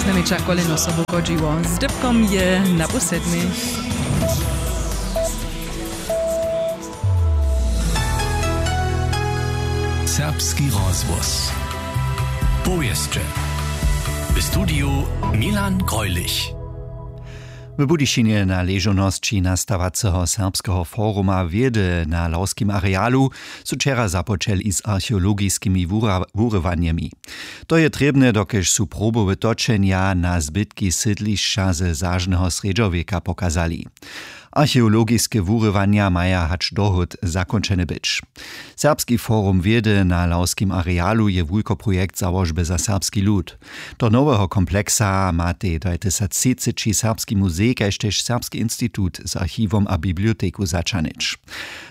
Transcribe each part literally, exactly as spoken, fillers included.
Znajmjeća kolejno sobu chodźiło. Z dypkom je na pół sedmej. Serbski rozhłos. Powěsće. W studiju Milan Greulich. W Budyšinje na ležownosći nastawaceho Serbskeho foruma wědy na lawskim arealu su wčera započeli z archeologiskimi wura- wurywanjemi. To je trěbne, dokelž su probowe točenja na zbytki sydlišća ze zažneho srjedźowjeka pokazali. Archeologiske wurywanja maja hač dohód zakónčene być. Serbski forum wědy na lawskim arealu je wulkoprojekt załožby za serbski lud. Do noweho kompleksa matej dwajtysactřiceći Serbski muzej kaž tež Serbski institut z archiwom a biblioteku zaćahnyć.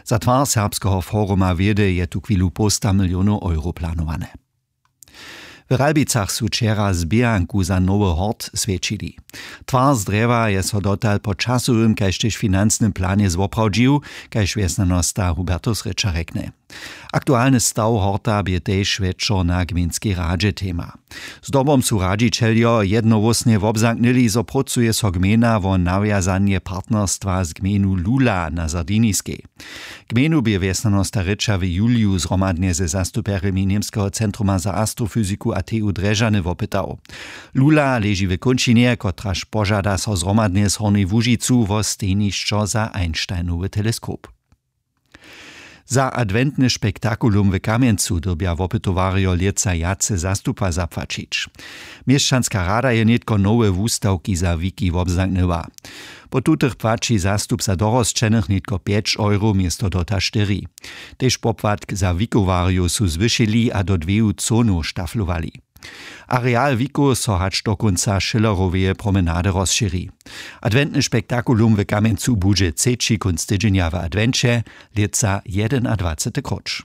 Za twar serbskeho foruma wědy je tuchwilu połsta milionow euro planowane. W Ralbicach su wčera zběhanku za nowy hort swjećili. Twar z drjewa je so dotal po časowym kaž tež financnym planje zwoprawdźił, kaž wjesnjanosta Hubertus Rěča rjekny. Aktualny staw horta bě tež wječor na gmejnskej radźe tema. Zdobom su radźićeljo jednohłósnje wobzamknyli, zo prócuje so gmejna wo nawjazanje partnerstwa z gmejnu Lula na Sardiniskej. Gmejnu bě wjesnjanosta Rěča w juliju zhromadnje ze zastupjerjemi Němskeho centruma za astrofyziku a T U Drježany wopytał. Lula leži w kónčinje, kotraž požada so zhromadnje z Hornjej Łužicu wo stejnišćo za Einsteinowy teleskop. Za adwentny spektakulum w Kamjencu dyrbja wopytowarjo lětsa wjace zastupa zapłaćić. Měšćanska rada je nětko nowe wustawki za wiki wobzamknyła. Po tutych płaći zastup za dorosćenych nětko pjeć euro město dota štyri. Tež popłatk za wikowarjow su zwyšili a do dweju conow štaflowali. Areal wikow so hač do kónca Schilleroweje promenady rozšěri. Adwentny spektakulum w Kamjencu budźe třeći kónc tydźenja w adwenće, lětsa jedenadwacety króć.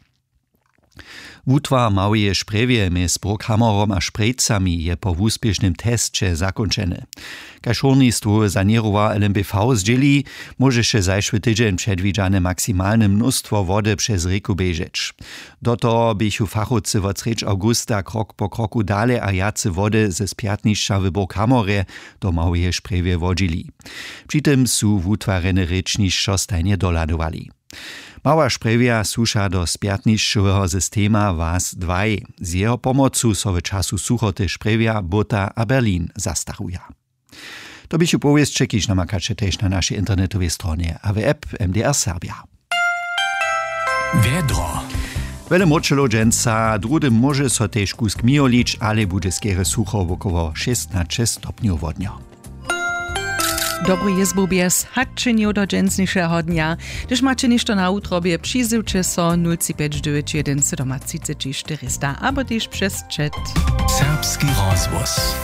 Wutwar w Małyje Sprjewje mjez Brughammerom a Sprjejcami je po wuspěšnym tesće zakónčeny. Kaž hórnistwowy saněrowar L M B V zdźěli, móžeše zašły tydźeń předwidźane maksimalne mnóstwo wody přez rěku běžeć. Do toho běchu fachowcy wot srjedź awgusta krok po kroku dale a wjace wody ze spjatnišća w Brughammerje do Małyje Sprjewje wodźili. Při tym su wutwarjene rěčnišćo stajnje dohladowali. Mała Sprjewja słuša do spjatnišćoweho systema was dwaj. Z jeho pomocu so w času suchoty Sprjewja, Bóta a Berlin zastaruja. To běchu powěsće, kiž namakaće tež na našej internetowej stronje a w app M D R Serbja. Wjedro. Wjele mróčelow dźensa, druhdy móže so tež kusk mijo lić, ale budźe skerje sucho, wokoło šěsnaće stopnjow wodnjo. Dobry jězbu bjez haćenjow do dźensnišeho dnja. Hdyž maće něšto na wutrobje, přizywće so nul tři pjeć dźewjeć jedyn sydomatřiceći štyrista abo tež přez chat. Serbski rozhłos.